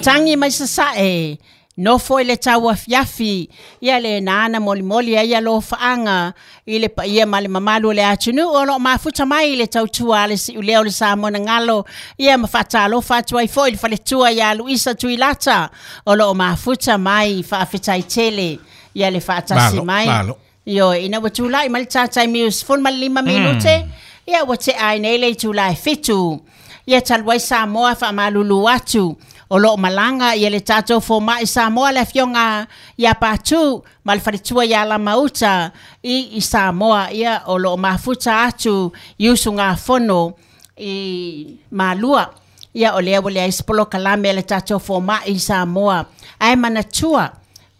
Tagi mai sasae, nofo i le tauafiafi, ia lena na molimoli ai alofaaga i le paia ma le mamalu o le atunuu o lo o mafuta mai i le tautua a le siulea o le Samoa na galo, ia ma faatalofa atu ai foi i le faletua ia Luisa Tuilata o lo o mafuta mai. Faafetai tele ia le faatasi mai. Malo. Ioe, ina ua tulai mai le tātai miu 15 minute, ia ua tea ai nei le itula e 7. Ia talu ai Samoa faamalulu atu o lo o malaga ia le tatou fomai Samoa le afioga ia Patu ma le faletua ia Lamauta i Samoa, ia o lo o mafuta atu i usugafono i Malua. Ia o lea ua leai se polokalame a le tatou fomai i Samoa, ae manatua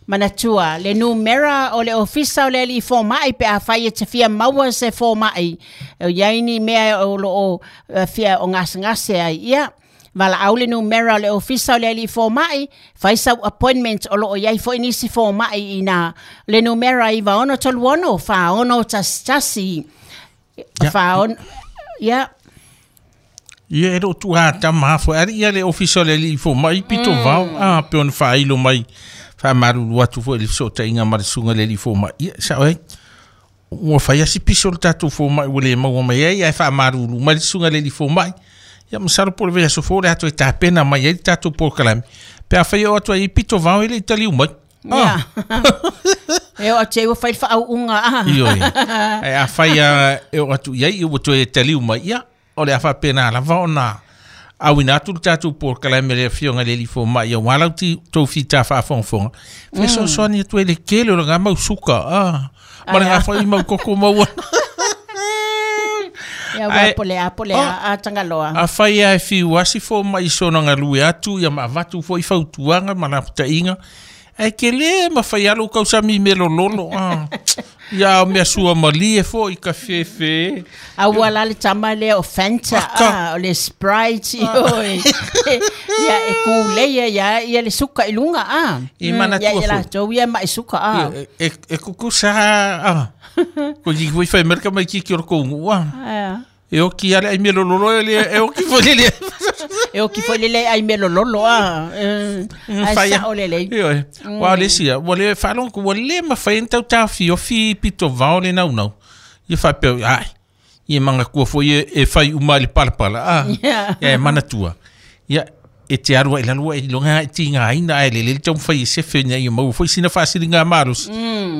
Manatua, le numera o le ofisa o le alii fomai pe afai e te fia maua se fomai, e i ai ni mea o lo o fia o gasegase ai, ia, valaau le numera o le ofisa o le alii fomai, fai sau appointment o lo o i ai foi nisi fomai i ina. Le numera 9636 4611. Fa ia. Ia e loo tuuga tama lava foi ali ia le ofisa o le alii fomai pito vao a pe ona faailo mai faamalulu atu foi i le fesootaiga ma le susuga i le alii fomai. Ia sao ai ua fai lava si piso o le tatou fomai ua le maua mai ai ae faamalulu mai le susuga i le alii fomai. Ia masalo po o le vaiaso fou o le a toe tapena mai ai le tatou polokalame pe afai e oo atu ai i pito vao e le i taliu mai. Ah. E oo atu i ai ua fai le faauuga. Ah. Ioe. Ae afai lava e oo atu i ai ua toe taliu mai, ia, o le a faapena lava ona auina atu le tatou polokalame a le Afioga i le Alii Fomai aua lau tou fita faafogafoga, fesoasoani atu ai le tele o lena mau suka, ah, ma lena foi mau koko maua. Ia ua po le a po le a a Tagaloa. Afai lava e fiu lava si fomai i sona galue atu ia ma avatu foi fautuaga ma lapataiga, Ae tele ma fai lava lou tausami i mea lololo. Ah. Ia o mea suamalie foi ka fefe. A ua la le tama lea o Fanta, ah, o le Sprite, oi. Ia e kūlei ia ia le suka i luga, ah. I manatua Ia ia foi. latou ia mai suka, ah. E, e kukusa, ah. Ko ki foi fai merka mai ki ki o kou nuu, ah. Ah. E oki ale ai mea lololo e le e oki foi le le. E oki foi le le ai mea lololo a. Ai Whaia. sao le lei. Ioe. Ua le sia, ua le whaalongo ku, ua le mawhai ni tau tāwhiofi pito vao le naunau. Ia whapea, ai, ia manga kua foi e, e whai uma i le palapala, ah. Yeah. Ia e manatua. Ia, e te alu ai i lalo ai iloga ai tigaina ae lelei le taumafai e sefe ina ia maua foi sina faasiliga malosi.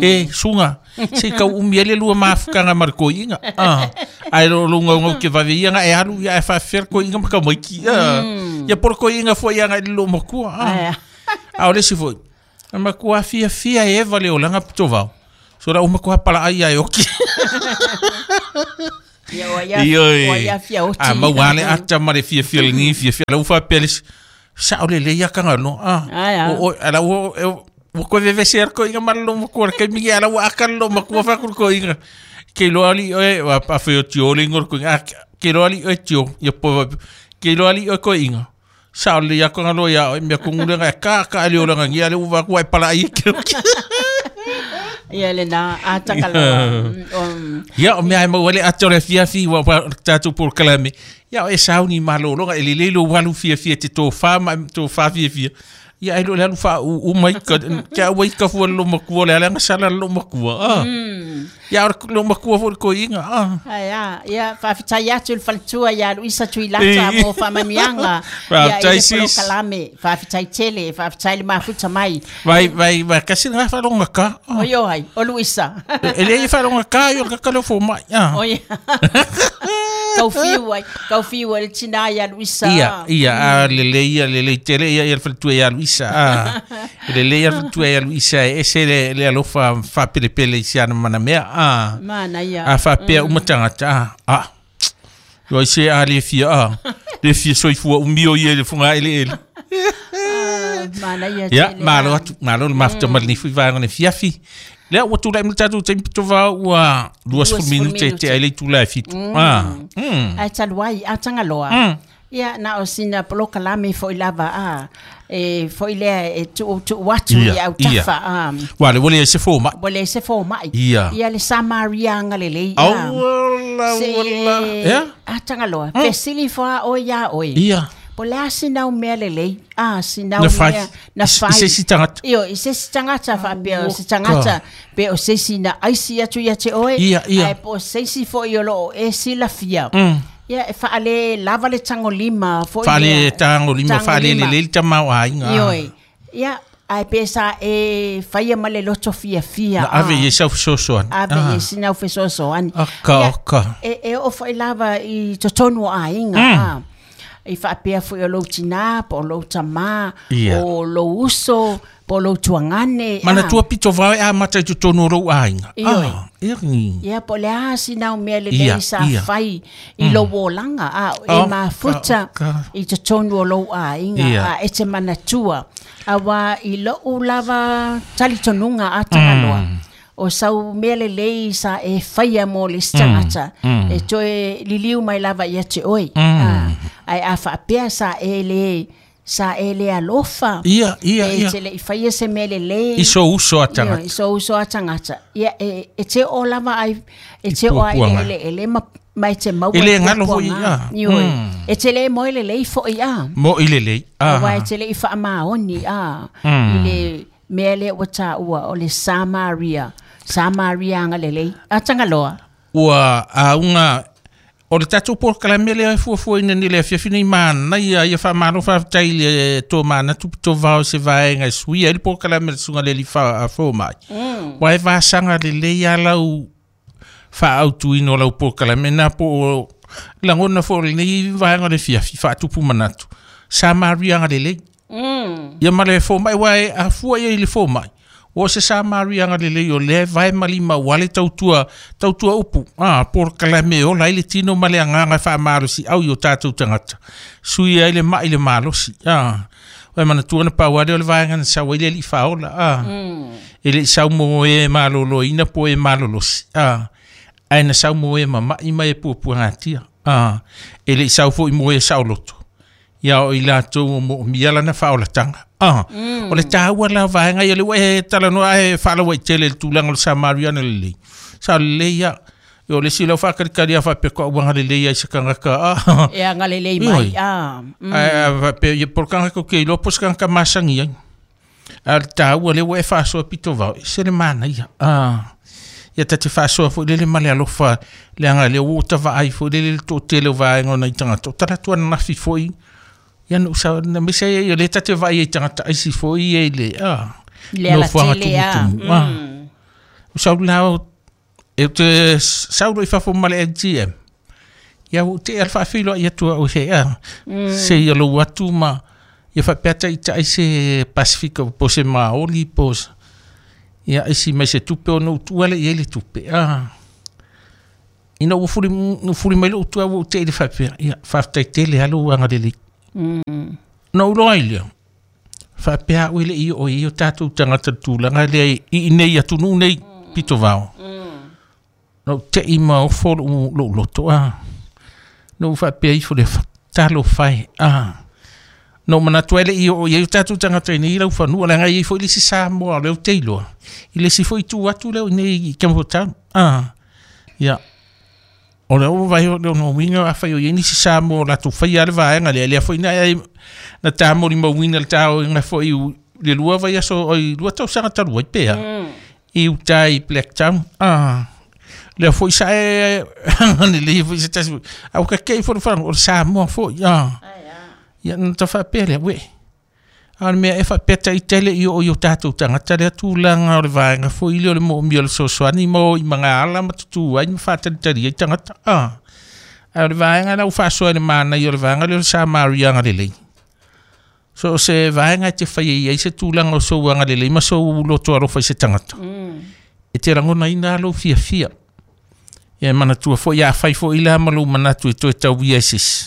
E, suga, se i tau umi ai le lua mafutaga ma le toeaina. Ah, ae o lou gaugau ke vave ia na e alu ia ae faafefea le toeaina ma tamaiti. Ah, ia po o le toeaina foi agai i le loomatua. Ah, a o le isi foi, e matua fiafia e eva le olaga pitovao. So la ua matua palaai ia e oki. Ia o ia Ioe. o ia fia oti. A maua lava le ata ma le fiafia lenei fiafia. La ua faapea le isi, sao lelei ia Tagaloa. Ah, Ai, a. o, o, ala ua, e, ua koe vevese ai le toeaina ma le loomatua i le taimi lea, ala ua aka le loomatua fai atu le toeaina. Ke iloa alii oe, a fai o Tio le igoa o le toeaina. Ah, ke iloa alii oe Tio, ia po, ke iloa alii oe toeaina. Sao lelei ia Tagaloa iā oe, mea tonu lea na e kaka ai le olaga nia, lea ua vaai atu ua e palaai e ke oki. Ia lena a Tagaloa. Ia, o mea e maua ai le ata o le afiafi ua ua tatou polokalame. Ia, o e sauni malologa, e lelei lou alu fiafia e te tofa ma e tofa fiafia. Ia, ai loa le alu faauu mai ka, te au ai ka fua le loomatua, o le a le agasala le loomatua. Ah. Ia, o le loomatua foi le toeaina. Ah. Ai a, ia, faafetai atu i le faletua ia Luisa Tuilata mo faamanuiaga. Ia, i Faafetai, le sis. polokalame. Faafetai tele, faafetai le mafuta mai. Vai, vai, vai, kasi lena faalogogata. Ah. Oi o ai, o Luisa. E le i faalogogata ai o le kaka lea o fomai. Ah. Oi. Kau fiu ai, kau fiu ai le tina ia Luisa. Ia, ia, a lelei ia, lelei tele ia, ia le faletua ia Luisa. Ah. E lelei ia le faletua ia Luisa e ese le, le alofa faapelepele i si ana manamea. Ah. Manaia. A faapea uma tagata. Ah. Ah. Oi se a le fia, ah. Le fia soifua umi o ia i le fogaeleele. Manaia Ia, tele. malo atu, malo le mafuta ma lenei foi vaega o le afiafi. Lea ua tulai mai le tatou taimi pitovao ua 20 minute e tea ai le itula e 7. Ah. Ae talu ai, a Tagaloa. Ia, na o sina polokalame foi lava, a, e foi lea e tuu tuu atu Ia, i autafa, a. Ua le ua leai se fomai. Ua leai se fomai. Ia. Ia le Samaria agalelei, a. Auala, Se auala. Ia? A Tagaloa, fesili fo a oe iā oe. Ia. Po le a sinau mea lelei, a sinau Na fai. mea na fai. I se isi tagata. Io, i se isi tagata faapea o se tagata pe o se isi na aisi atu ia te oe, Ia, ia. ae po o se isi foi o lo o e silafia. Ia, e faale lava le tagolima foi Faale lea. tagolima, faale Tagolima. lelei le tamaoaiga. Ioe. Ia, ae pe sa e faia ma le loto fiafia. Na ave i ai sau fesoasoani. Ave i ai sinau fesoasoani. Aka, Ia, aka. e oo foi lava i totonu o aiga. I faapea foi o lou tinā, po o lou tamā, Ia. o lou uso, po o lou tuagane. Manatua pito vao e amata i totonu o lou aiga. Ioe. Ah, ia ni. Ia, po o le a sinau mea lelei Ia, sa ia. fai i lou olaga, a e Oh, mafuta ka- i totonu o lou aiga, Ia. a e te manatua. Auā i lou lava talitonuga a tagaloa. O sau mea lelei sa e faia mo le isi tagata, e toe liliu mai lava ia te oe. Ae a faapea sa e le sa e le alofa. Ia, ia, E ia. te le'i faia se mea lelei. I so uso a Ioe, tagata. i so uso a tagata. Ia, e te oo lava ai, e te oo ai puapuaga. le eleele ma, ma e te maua E le i galo foi, puapuaga. ah. Ioe. E te le moe lelei foi, ah. Mo i lelei. Ah. Auā e te le'i faamaoni, ah, i le mea lea ua taua o le Samaria. Samaria agalelei. A Tagaloa. Ua auga o le tatou polokalame lea e fuafuaina nei le afiafi nei manaia ia faamalo faafetai i le tomanatu pitovao i se vaega e suia ai le polokalame le susuga le alii fomai. Ua e vasaga lelei a lau faaautuina o lau polokalame na po o lagona foi o lenei vaega o le fiafi faatupu manatu. Samaria agalelei. Ia ma le fomai ua e afua ia i le fomai. Ua o se Samaria agalelei o lea e vae ma lima ua le tautua, tautua upu. Ah, polokalame e ola ai le tino ma le agaga e faamalosiau i o tatou tagata. Sui ai le mai le malosi. Ah, ua e manatua na pau lea o le vaega na sau ai le alii faaola. Ah, e le'i sau mo e maloloina po e malolosi. Ah, ae na sau mo e mama'i ma e puapuagatia. Ah, e le'i sau foi mo e saoloto. Ia o i latou o mo'omia lana faaolataga. Ah, o le tāua la vaega ia le ua e talanoa e faalauaitele i le tulaga o le Samariana lelei. Sa lelei ia. Ia o le isi lau faakalikali a faapea ko auaga lelei ai se tagata. Ah. E agalelei mai. Ioe. Ah. Ae faapea ia po o le tagata ou te iloa po o se tagata masani ai. A o le tāua lea ua e faasoa pito vao, e se le manaia. Ah. Ia ta te faasoa foi lele ma le alofa leaga lea ua ou tavaai foi lele le toatele o vaega o nai tagata. O talaatu ananafi foi ia na ou na mese ai o lea ta te vaai ai i tagata aisi foi ia i le ah, Le nofoaga alatele, ah. tumutumu. Ah. O sau la o e te sau loa i fafo ma le MTM. Ia ua ou tea le faafeiloai atu au se ah, se ia lou atu ma ia faapea taitai se Pasifika po o se Maoli po o se ia aisi mai se tupe ona ou tuua lea i ai le tupe. Ah. Ina ua fuli, fuli mai lou tua ua ou tea i le faapea, ia faafetai tele lava lou agalelei. Na ou iloa ai lea, faapea au e le'i oo i ai o tatou tagata i le tulaga lea i inei atunuu nei pitovao. Na ou te'i ma ofo lou, lou loto, ah. Na ou faapea ifo lea, talofa e, ah. Na ou manatu ai e le'i oo i ai o tatou tagata i nei laufanua, leaga e i ai foi le isi Samoa o lea ou te iloa, i le isi foi itu atu lea o i inei i Campbelltown. Ah. Ia. O lea ua vaai o le ona uiga afai o i ai nisi Samoa o latou faia le vaega lea, lea foi na ai na tamolimauina le taoiga foi i le 2 vaiaso oi 2 tausaga talu ai pea. I uta i Blacktown. Ah. Lea foi sa e lelei foi se tasi. A ua kakei foi le falaga o le Samoa foi. Ah. Ia na ta faapea lea, uē. A o le mea e faapea taitele i oo i o tatou tagata lea tulaga o le vaega foi lea o le mo'omia o le fesoasoani ma o i magaala ma tutū ai ma faatalitali ai tagata. Ah. Ae o le vaega la ua faasoa i le manaia o le vaega lea o le Samaria agalelei. So o se vaega e te faia i ai se tulaga o sou agalelei ma sou loto alofa i se tagata. E te lagonaina lou fiafia. Ia e manatua foi afai foi la ma lou manatu e toe tauia i se isi.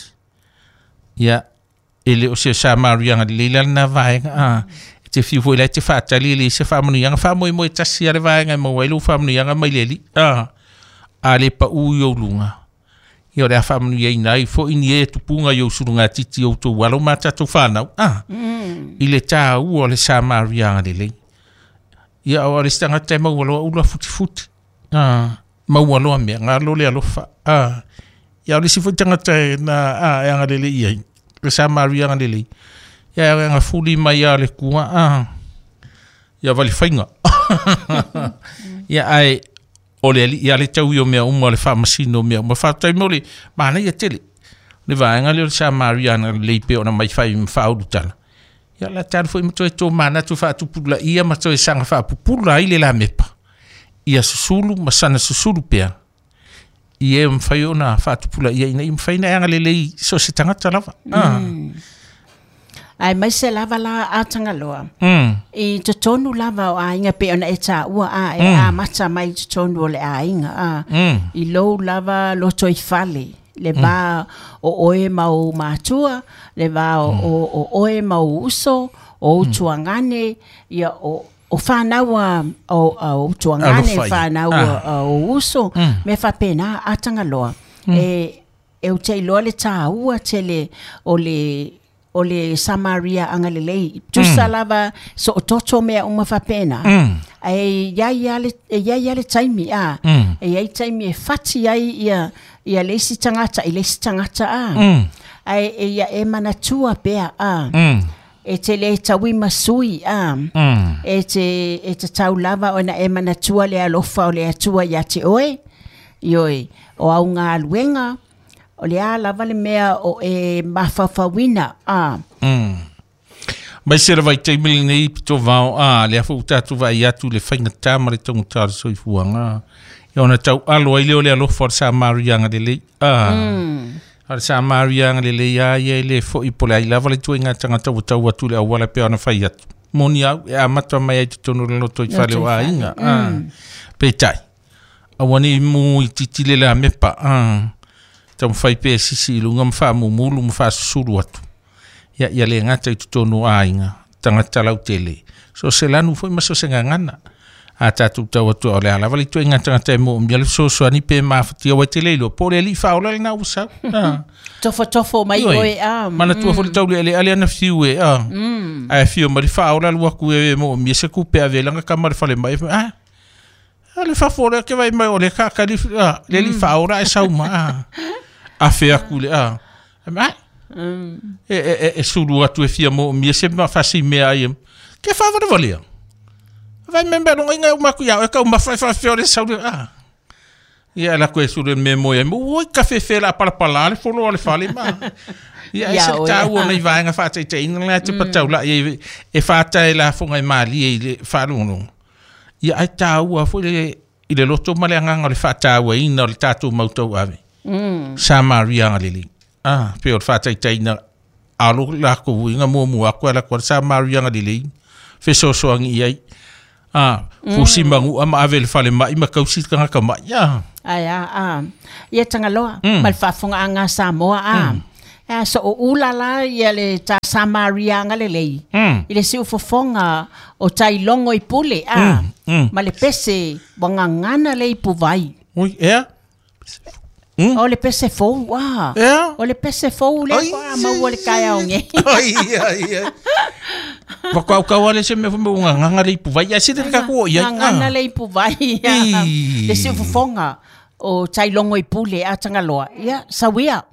Ia e le o se Samaria agalelei la lena vaega. Ah. E te fiu foi la e te faatali e leai se faamanuiaga faamoemoe tasi a le vaega e maua ai lou faamanuiaga mai le alii. Ah. A le paū i ou luga. Ia o le a faamanuiaina ai foi ni e tupuga i ou sulugatiti o outou alo ma tatou fanau. Ah. I le tāua o le Samaria agalelei. Ia o le isi tagata e maua loa ula futifuti. Ah. Maua loa mea, galo le alofa. Ah. Ia o le isi foi tagata e na ah, e agalelei i ai. Le Samaria agalelei. Ia e agafuli mai lava le Atua a ia valefaiga. Ia ae o le Alii lava le taui o mea uma o le faamasino o mea uma. Faafetai mo le manaia tele. Le vaega lea o le Samaria agalelei pei ona aumai fai ma faaulutala. Ia o le a talu foi ma toe tomanatu faatupulaia ma toe saga faapupula ai le lamepa ia susulu ma sana susulu pea i e mafai ona faatupulaia ina ia mafai ona e agalelei i so o se tagata lava. Ah. Aemaise lava la a Tagaloa, i totonu lava o aiga pei ona e taua a e amata mai i totonu o le aiga a, i lou lava lotoifale, le va o oe ma ou matua, le va o oe ma ou uso, o ou tuagane, ia o o fanau a o ou tuagane, fanau a ou uso, mea faapena a Tagaloa. E ou te iloa le taua tele o le o le Samaria agalelei. Tusa lava soototo mea uma faapena. Ae i ai lava le, e i ai lava le taimi, a. E i ai taimi e fati ai ia, ia le isi tagata i le isi tagata, a. Ae e ia e manatua pea, a. E te le taui ma sui, a. E te, e tatau lava ona e manatua le alofa o le Atua ia te oe. Ioe, o au galuega, o le a lava le mea o e mafaufauina, a. Mai se lava i taimi lenei pito vao, a, lea foi ua tatou vaai atu i le faigata ma le taugata o le soifuaga, ia ona tau alo ai lea o le alofa o le Samaria agalelei, a. A o le Samaria agalelei lava ia e le foi po o le ai lava le ituaiga tagata ua tau atu i le auala e pei ona fai atu. Moni au, e amata mai ai i totonu o le lotoifale o aiga, a. Peitai, Aua ne i mu itiiti le lamepa, a taumafai pea e sisi i luga ma faamumulu ma faasusulu atu. Ia, ia le gata i totonu o aiga, tagata lautele, so o se lanu foi ma so o se gagana. A tatou tau atu o le a lava le ituaiga tagata e moomia le fesoasoani pe mafatia aua e te le iloa po o le alii faaola lena ua sau. A. Tofotofo mai Ioe. oe a. Manatua foi le taulealeale ana fiu e a. Ae afio mai le faaola alu atu e moomia se tupe ave ai lana tama i le falemai. A, A le fafo lea ke vai mai o le ka kali a le li faaola e sau ma a. Afe aku le a. A e e e, e sulu atu e fia mo mia se ma fasi mea ai. Ke fa vale vale. Vai me me longa inga uma ku ia e ka uma fa fa fe o le sau le a. Ia la ko e sulu me mo e mo oi ka fe fe la pala pala le folo o le fale ma. Ia e se tāua nei vaenga whāteiteina la te patau la e e whātae la fonga e mālie i le whaalongo. Ia ai tāua foi le i le loto ma le agaga o le faatauaina o le tatou mau tauave. Samaria agalelei. Ah, pei o le faataitaiga alo lakou uiga muamua atu e alu atu ai le Samaria agalelei fesoasoani i ai. Ah, fusi manu'a ma ave i le falemai ma tausi le tagata ma'i. Ah. Ae a, a. Ia Tagaloa, ma le faafofogaaga a Samoa, a. A so o ula la ia le ta Samaria agalelei i le siufofoga o Tailogo i Pule, a. Ma le pese ua gagana le ipuvai. Ui, ea? O le pese fou, a. Ea? O le pese fou lea faatoa maua i le taeao nei. Ai, ai, ai. Whakaukau ale se mea mo ngā nganga le ipuvai. Ia se te kaku o ia. Gagana le ipuvai. Le siufofoga o Tailogo i Pule, a Tagaloa. Ia, sauia.